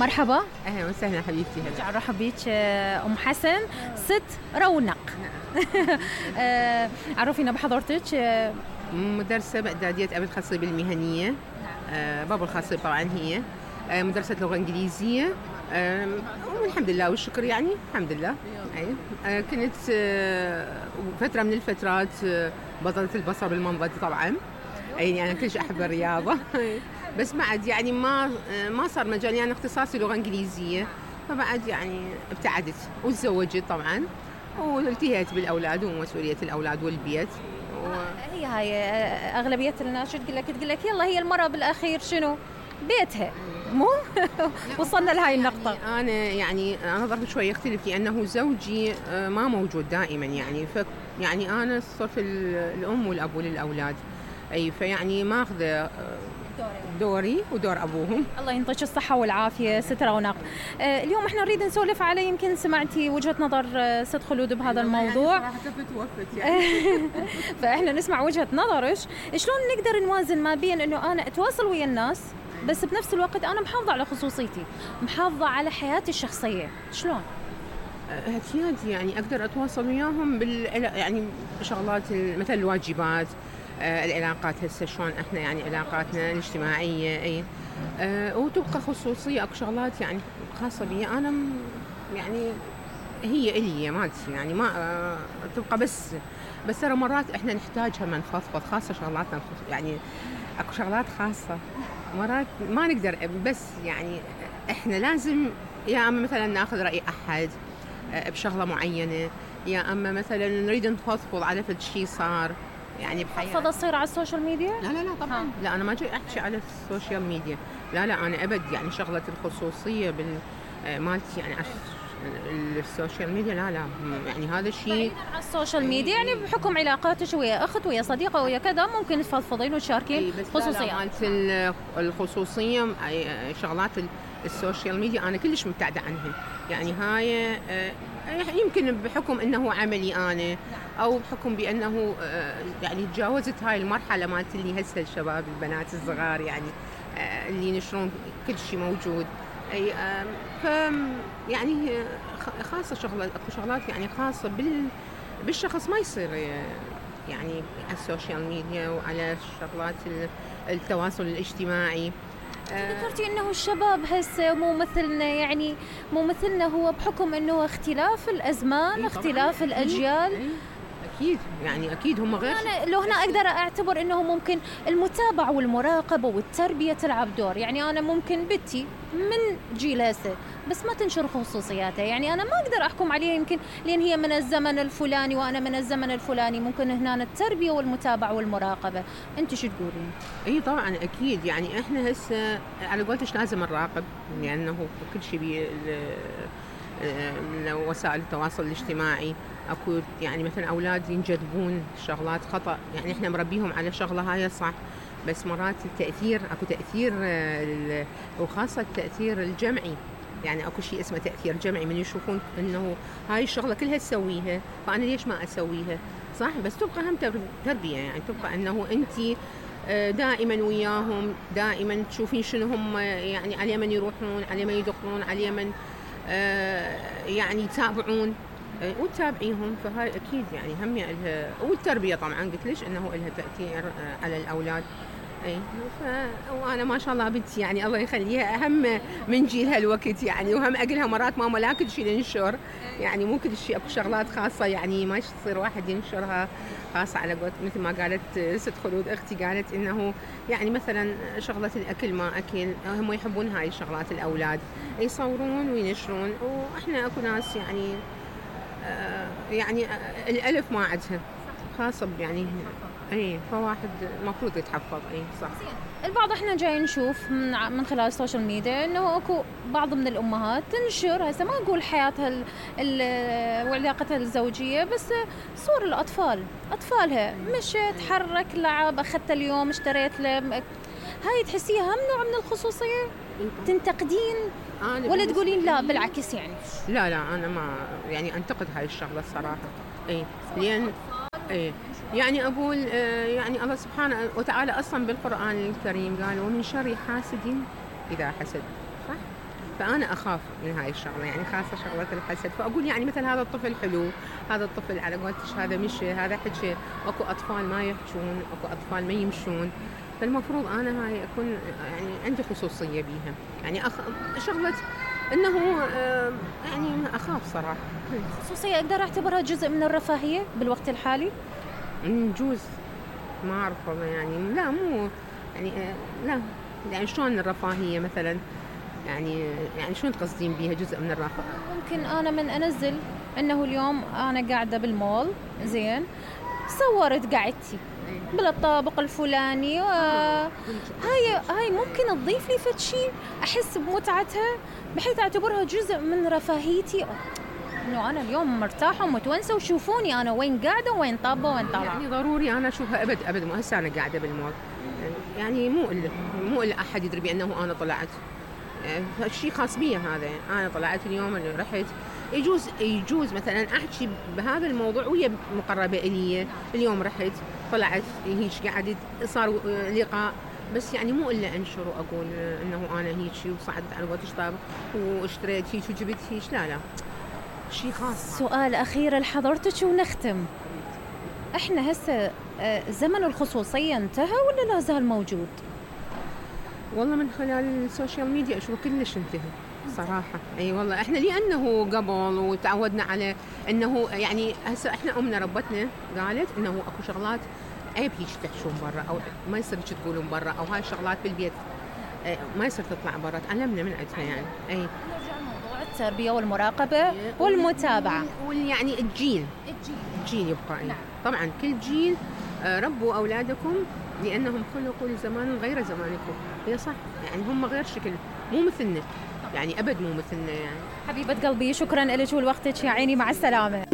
مرحبا. اهلا وسهلا حبيبتي. رجع ارحب بيك ام حسن ست رونق. عرفينا بحضرتك. مدرسة بإعدادية أبي الخصيب المهنية. بابا الخصيب طبعا هي مدرسة لغة إنجليزية. والحمد لله والشكر يعني الحمد لله. كنت فترة من الفترات بطلة البصر بالمنضد طبعا. يعني أنا كلش أحب الرياضة. بس بعد يعني ما صار مجالي، يعني اختصاصي لغة إنجليزية، فبعد يعني ابتعدت وتزوجت طبعا والتهيت بالأولاد ومسؤولية الأولاد والبيت. هي هاي أغلبية الناس تقول لك يلا هي المرأة بالأخير شنو بيتها مو وصلنا لهاي النقطة. يعني أنا ظرفي شوي يختلف، لأنه زوجي ما موجود دائما، يعني أنا صرت الأم والأب للأولاد، أي فيعني ماخذة دوري ودور أبوهم. الله ينطيك الصحة والعافية ست رونق. اليوم احنا نريد نسولف على، يمكن سمعتي وجهة نظر ست خلود بهذا الموضوع. يعني توفت يعني. فاحنا نسمع وجهة نظرك، شلون نقدر نوازن ما بين انه انا اتواصل ويا الناس بس بنفس الوقت انا محافظة على خصوصيتي، محافظة على حياتي الشخصية، شلون؟ اعتياد يعني اقدر اتواصل وياهم يعني بشغلات مثل الواجبات، العلاقات هسه شلون احنا يعني علاقاتنا الاجتماعيه، اي وتبقى خصوصيه. اكو شغلات يعني خاصه بي انا، يعني هي الي مالتي، يعني ما تبقى بس ترى مرات احنا نحتاجها من نفضفض، خاصه شغلاتنا يعني اكو شغلات خاصه مرات ما نقدر، بس يعني احنا لازم يا اما مثلا ناخذ راي احد بشغله معينه، يا اما مثلا نريد نفضفض على فد شيء صار يعني بحياتي. فضل تصير على السوشيال ميديا؟ لا طبعا. لا انا ما جاي احكي على السوشيال ميديا، لا انا ابد يعني شغله الخصوصيه مالتي يعني السوشيال ميديا لا يعني هذا الشيء على السوشيال ميديا يعني بحكم علاقاتك ويا اخت ويا صديقه ويا كذا ممكن تفضفضين وتشاركين خصوصيات. مالت الخصوصيه شغلات السوشيال ميديا انا كلش مبتعده عنها، يعني هاي يمكن بحكم انه عملي انا، او بحكم بانه يعني تجاوزت هاي المرحله مالت اللي هسه الشباب البنات الصغار يعني اللي ينشرون كل شيء موجود، اي ف يعني خاصه شغلات يعني خاصه بالشخص ما يصير يعني على السوشيال ميديا وعلى شغلات التواصل الاجتماعي. ذكرتي انه الشباب هسه مو مثلنا، يعني مو مثلنا، هو بحكم انه اختلاف الازمان، اختلاف الاجيال. اكيد يعني اكيد هم غير. انا لو هنا اقدر اعتبر انه ممكن المتابعه والمراقبه والتربيه تلعب دور، يعني انا ممكن بنتي من جيل هسه بس ما تنشر خصوصياتها، يعني انا ما اقدر احكم عليها يمكن لان هي من الزمن الفلاني وانا من الزمن الفلاني، ممكن هنا التربيه والمتابعه والمراقبه. انت شو تقولين؟ اي طبعا اكيد، يعني احنا هسه على قولتش لازم نراقب، لانه كل شيء وسائل التواصل الاجتماعي اكو يعني مثلا اولاد ينجذبون شغلات خطا، يعني احنا مربيهم على شغله هاي صح، بس مرات التاثير اكو تاثير وخاصه التاثير الجمعي، يعني اكو شيء اسمه تاثير جمعي، من يشوفون انه هاي الشغله كلها تسويها فانا ليش ما اسويها، صح؟ بس تبقى هم تربيه، يعني تبقى انه انت دائما وياهم، دائما تشوفين شنو هم يعني على من يروحون، على من يدخلون، على من يعني يتابعون وتتابعيهم، فهاي اكيد يعني هم لها، والتربيه طبعا قلت ليش انه لها تاثير على الاولاد. اي وانا ما شاء الله بنتي يعني الله يخليها اهم من جيل هالوقت، يعني وهم اقلها مرات ماما لا كل شيء ننشر، يعني مو كل شيء، اكو شغلات خاصه يعني ما يصير واحد ينشرها خاصه على قولت مثل ما قالت ست خلود اختي، قالت انه يعني مثلا شغله الاكل ما اكل، هم يحبون هاي الشغلات الاولاد يصورون وينشرون، واحنا اكو ناس يعني الالف ما عندها خاصه يعني اي، فواحد المفروض يتحفظ. اي صح. البعض احنا جاي نشوف من خلال السوشيال ميديا انه اكو بعض من الامهات تنشر، هسه ما اقول حياتها وعلاقتها الزوجيه، بس صور الاطفال، اطفالها مشت تحرك لعب، اخذت اليوم اشتريت له، هاي تحسيها هم نوع من الخصوصيه؟ تنتقدين ولا تقولين لا بالعكس؟ يعني لا انا ما يعني انتقد هاي الشغله الصراحه. اي لان يعني اقول يعني الله سبحانه وتعالى اصلا بالقران الكريم قال ومن شر حاسد اذا حسد، صح؟ فانا اخاف من هاي الشغله، يعني خاصه شغله الحسد. فاقول يعني مثلا هذا الطفل حلو، هذا الطفل على قولتش هذا مشي، هذا حكي، اكو اطفال ما يحجون، اكو اطفال ما يمشون. فالمفروض انا هاي اكون يعني عندي خصوصيه بيها، يعني شغله انه يعني اخاف صراحه. خصوصية أقدر أعتبرها جزء من الرفاهية بالوقت الحالي؟ جوز، ما اعرف والله، يعني لا مو يعني لا، يعني شلون الرفاهيه مثلا، يعني شلون تقصدين بيها جزء من الرفاهيه؟ ممكن أنا من أنزل أنه اليوم أنا قاعدة بالمول، زين، صورت قعدتي بالطابق الفلاني، هاي ممكن تضيف لي فد شيء أحس بمتعتها بحيث أعتبرها جزء من رفاهيتي، إنه أنا اليوم مرتاحة ومتونسة وشوفوني أنا وين قاعدة وين طابة وين طالعة. يعني ضروري أنا أشوفها أبد مو هسه أنا قاعدة بالمول، يعني مو إلا أحد يدري بأنه أنا طلعت، شيء خاص بي هذا. أنا طلعت اليوم، اللي رحت، يجوز مثلا أحكي بهذا الموضوع ويا مقربة إلي، اليوم رحت طلعت هيك قعدت صار لقاء، بس يعني مو إلا أنشر وأقول إنه أنا هيك وصعدت على وقت طابق واشتريت هيك وجبت هيك، لا شيء خاص. سؤال أخير لحضرتك ونختم. إحنا هسه زمن الخصوصية انتهى ولا لا زال موجود؟ والله من خلال السوشيال ميديا أشوف كلش انتهى صراحة. أي والله إحنا لأنه قبل وتعودنا على إنه يعني هسه إحنا أمنا ربتنا قالت إنه أكو شغلات عيب هيك تحشون برا، أو ما يصير هيك تقولون برا، أو هاي الشغلات بالبيت ما يصير تطلع برا، تعلمنا من عندها يعني. أي التربية والمراقبة والمتابعة، يعني الجيل يبقى. نعم. طبعا كل جيل ربوا أولادكم لأنهم خلقوا لزمان غير زمانكم. هي صح، يعني هم غير شكل، مو مثلنا، يعني أبد مو مثلنا يعني. حبيبة قلبي شكرا لك ولوقتك يا عيني، مع السلامة.